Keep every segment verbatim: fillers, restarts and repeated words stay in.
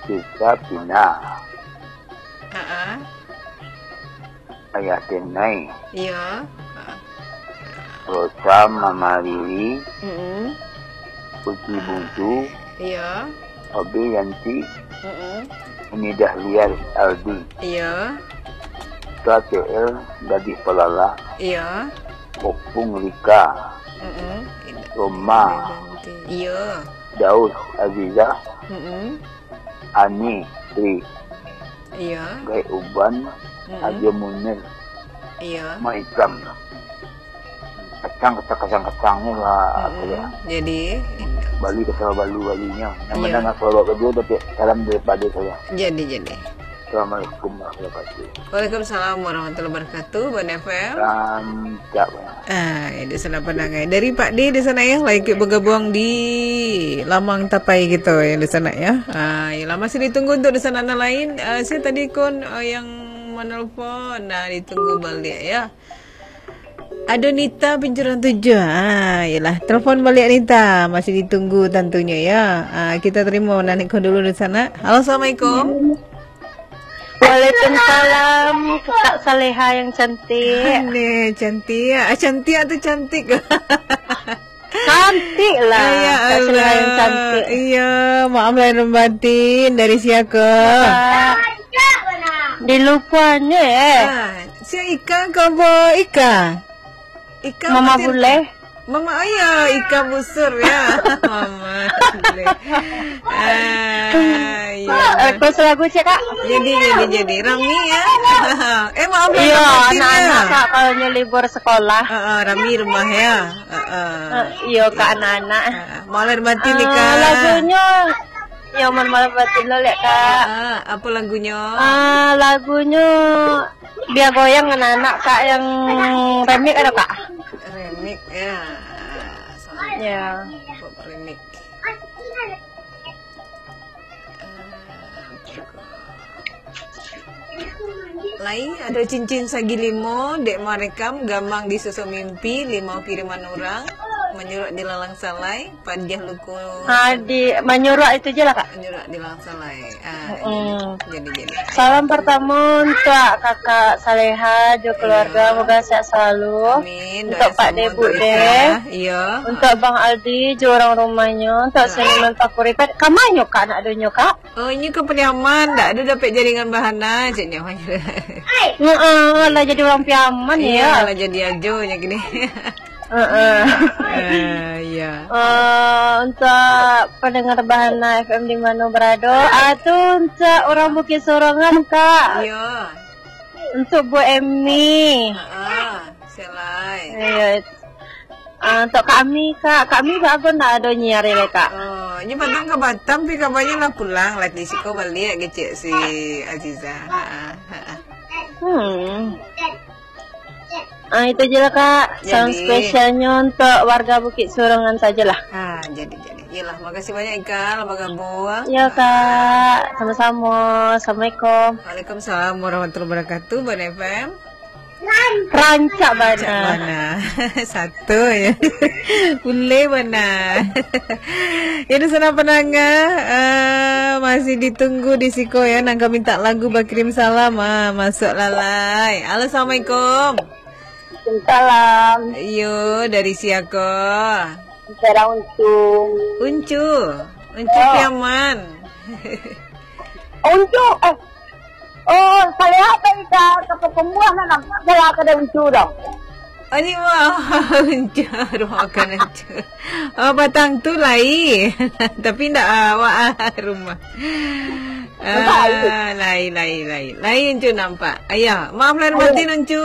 Sisa Pina. Ha-ah. Ayah Tenai. Iyo. Ha. Rosa Mama Riri. Mm-mm. Uci Buntu. Iyo. Obe Yanti. Mm-mm. Umi Dahlia Aldi. Iyo. Tua T L Gadih Palala. Iyo. Opung Rika. Mm-mm. Roma. Iyo. Daus Aziza. Mm-mm. Ani Tri. Iyo. Gaek Uban. Mm-mm. Ajo Munir. Iyo. Maikam. Kacang, kacang, kacang, kacang ni lah, apa ya? Mm-mm. Jadi, Bali ke Sawah Balu, Balinyo. Yang Iyo. Menang Sawah Balu, tapi salam daripada saya. Jadi, jadi. Assalamualaikum warahmatullahi wabarakatuh. Waalaikumsalam warahmatullahi wabarakatuh, Banda F M. Rancak, Bang. Ah, ya, di sana pandangai. Dari Pak D di sana ya, lagi bergabung di Lamang Tapai gitu ya di sana ya. Ah, yalah, masih ditunggu untuk di sana nan lain. Ah, saya tadi kon, ah, yang menelpon, nah, ditunggu balik ya. Ado Nita Pincuran Tujuh. Ah, yalah, telepon balik Nita. Masih ditunggu tentunya ya. Ah, kita terima Nanik Kon dulu di sana. Halo, assalamualaikum. Waalaikumsalam, Kak Saleha yang cantik. Aneh, cantik. Ah, cantik atau cantik? Cantik lah, Kak Saleha yang cantik. Iya, maaf lahir dan batin. Dari siapa? Ah, dilupuanyo, eh. Ah, si Ika, kau bawa Ika? Ika Mama Fatin. Bule. Mama, oh iya, Ika Busur ya. Mama Bule. Ah, iya. Request lagu cek, Kak. Jadi, jadi, jadi. Rami ya. Eh, maaf, Iya, Rami ya. Anak-anak, Kak, kalau nyo libur sekolah. Ah, ah, Rami rumah ya. Ah, ah. Eh, iyo, Kak, anak-anak. Ah, maaf lahir batin, Ika. Ah, lagunyo, yo, maaf lahir batin lo, lek, Kak. Ah, apa lagunyo? Ah, lagunyo Bia Goyang anak-anak, Kak, yang remix ado, Kak? Remix, ya. Ya. Pop remix. Lai, ado Cincin Sagi Limo, Dek Marekam, Gamang di Susu Mimpi, Limau Kiriman Urang, Manyuruak di Lalang Salai, Padiah Luko. Ah, di Manyuruak itu je lah, Kak. Manyuruak di Lalang Salai. Ah, Mm-mm. Jadi, jadi. Salam pertama untuk Kakak Saleha jo keluarga, Iya. Moga sehat selalu. Amin. Untuk Doa Pak semua Debut untuk deh. Ika. Iya. Untuk Bang Aldi jo urang rumahnyo, untuk Iya. Seniman Pakuri. Kamanyo, Kak, nak donyo, Kak? Oh, inyo ka Pariaman, ndak ado dapek jaringan bahana, ceknyo. Heeh, lah jadi urang Piaman, Iya, ya. Lah jadi ajo nyo kini. Heeh. Eh, iya. Eh, untuk pendengar Bahana F M di mana berado, ah, tu untuk urang Bukit Sorongan, Kak. Iya. Untuk Bu Emi. Heeh, selai. Iya. Ah, untuk kami, Kak, kami bagus ndak ado nyiar ni, Kak. Oh, inyo patang ka Batam, tapi kabanyo lah pulang, lah di siko baliak kecek si Aziza. Ha, ha, ha. Hmm. Ah, itu je lah, Kak. Salam Jadi. spesialnyo untuk warga Bukit Sorongan sajalah. Ha, jadi, jadi. Iyolah, makasih banyak, Ika, lah bagabung. Ya, Kak. Sama-sama. Assalamualaikum. Waalaikumsalam warahmatullahi wabarakatuh, Banda F M. Rancak Rancak bana. bana. Satu ya. Uleh bana. Ya, di sana pendengar, eh, masih ditunggu di siko ya. Nan ka minta lagu bakirim salam, ah, masuk lalai. Halo, assalamualaikum. Salam. Yo, dari siako? Bicara Untung. Uncu. Uncu Oh. Piaman. Uncu, eh, Oh, Saleha tadi ka, ka Pakumbuah nak nampak Saleha ka Uncu dah. Oh, ni mah Uncu, rumah makan Uncu. Oh, patang tu lai. Tapi ndak awak ah, rumah. Ah, lai, lai, lai. Lai Uncu nampak. Ayah, maaf lahir Ayo. batin Uncu.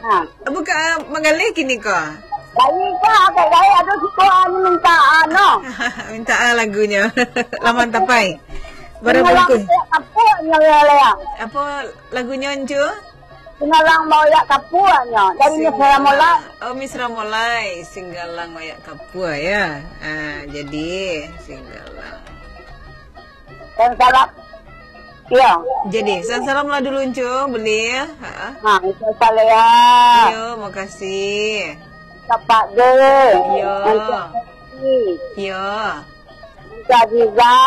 Ha. Buka, ah, manggaleh kini ko? Lai ka, agak lai ado siko anu minta, anu. Minta, ah, lagunyo. Laman tapai. Barang Singgalang bungkus. Bayak kapua nyo, ya, ya. Apa lagunyo, Uncu? Singgalang Bayak Kapua nyo. Dari Miss Singgalang. Ramolai. Oh, Miss Ramolai. Singgalang Bayak Kapua, ya. Ah, jadi, Singgalang. Dan salam. Iya. Jadi, salam-salam lah dulu, Uncu. Boleh, ya? Ha. Ha, Uncu Saleha. Yo, makasih. Sapak deh. Yo. Uncu Saleha. Yo. Uncu Aziza.